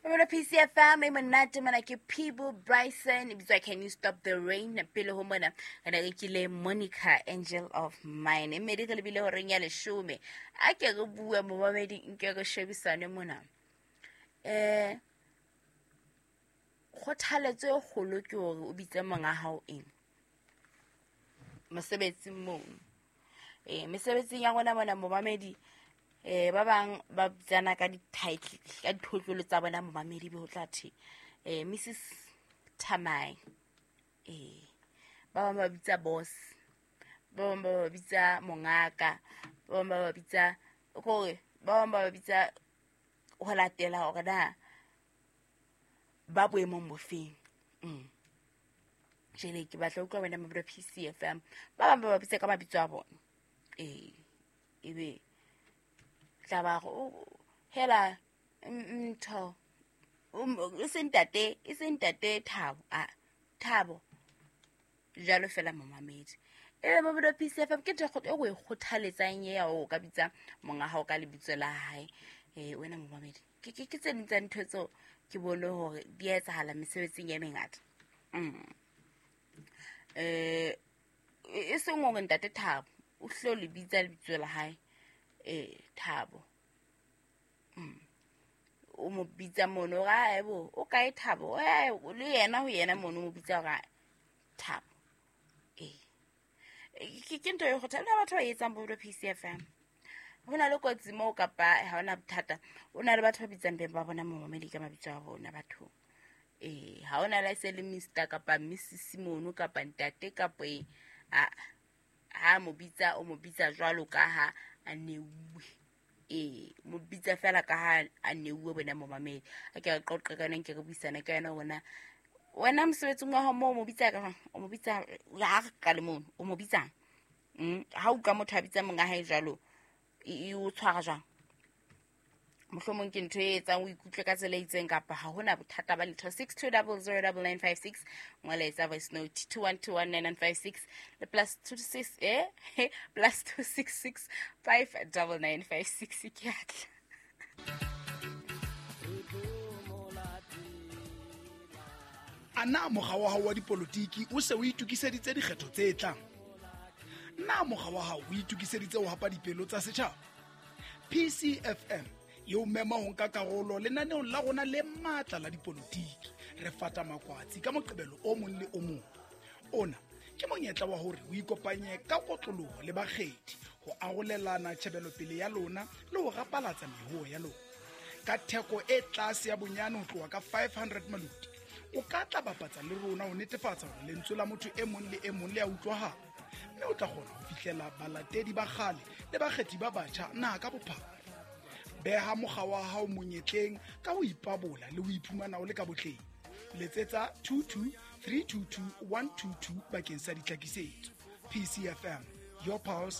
Mamelo PCFM e monate mona ke Peebo Bryson e bitswa Can You Stop the Rain. Pele ho mona re ne re kile Monica Angel of Mine. E mmedi re lebile horeng ya leshome. A ke re bue momamedi nke re shebisane mona. Kgothaletso e kgolo ke hore o bitse monga hao eng mosebetsing mono. Mesebetsing ya rona mona momamedi, ba bang ba bitsana ka di-title, ka dithotlolo tsa bona momamedi, be ho tla thwe Mrs Thamai. Ba bang ba bitsa boss, ba bang ba ba bitsa mongaka, ba bang ba ba bitsa kore, ba bang ba ba bitsa ho latela hore na ba boemong bofeng. Jwale ke batla utlwa wena Mabelo PCFM, ba bang ba ba bitsa ka mabitso a bona. Ebe tla ba re, o, hela, ntho, e se ntate, e se ntate Thabo, a, Thabo. Jwalo fela momamedi. Ebe Mabelo PCFM ke ntho e o e kgothaletsang e ya o ka bitsa monga hao ka lebitso la hae. Wena momamedi, ke tse ding tsa ntho tseo ke bone hore di a etsahala mesebetsing e mengata. E seng hore ntate Thabo o hlo le bitsa lebitso la hae, Thabo. O mo bitsa mono hore, ae bo, o kae Thabo? Le yena ho yena mono o mo bitsa hore, Thabo. Ke ntho e kgotha le batho ba etsang bo PCFM. Ho na le kotsi moo kapa ha hona bothata. O na le batho ba bitsang beng ba bona momamedi ka mabitso a bona bathong. Ha hona le se le Mister kapa Missus mono kapa ntate kapa eng. A, ha mo bitsa, o mo bitsa jwalo ka ha a neuwe. Mo bitsa fela ka ha a neuwe bona momamedi. A ke re qoqe ka yona, nke re buisane ka yona hore na wena mosebetsing wa hao moo o mo bitsa ka, o mo bitsa ha re qale mono, o mo bitsang? Ha utlwa motho a bitsa monga hae jwalo, e o tshwara jwang? Mohlomong ke ntho e etsang o ikutlwe ka tsela e itseng kapa ha hona bothata ba letho. Six two double zero double nine five six, ngola etsa voice note two one two one nine nine five six le plus two six, plus two six six five double nine five six. Ke a tla. A na mokga wa hao wa dipolotiki o se o itokiseditse dikgetho tse tlang? Na mokga wa hao o itokiseditse ho hapa dipelo tsa setjhaba? PCFM e o mema ho nka karolo lenaneong la rona le matla la dipolotiki. Re fata makwatsi ka Moqebelo o mong le o mong. Ona ke monyetla wa hore o ikopanye ka kotloloho le bakgethi ho arolelana tjhebelopele ya lona le ho rapalatsa mehoo ya lona. Ka theko e tlase ya bonyane ho tloha ka 500 maluti, o ka tla bapatsa le rona ho netefatsa hore lentswe la motho e mong le e mong le a utlwahala, mme o tla kgona ho fihlela balatedi ba kgale le bakgethi ba batjha naha ka bophara. Beha mokga wa hao monyetleng ka ho ipabola le ho iphumana o le ka botleng. Letsetsa two two three two two one two two bakeng sa ditlhakisetso. PCFM, your pulse,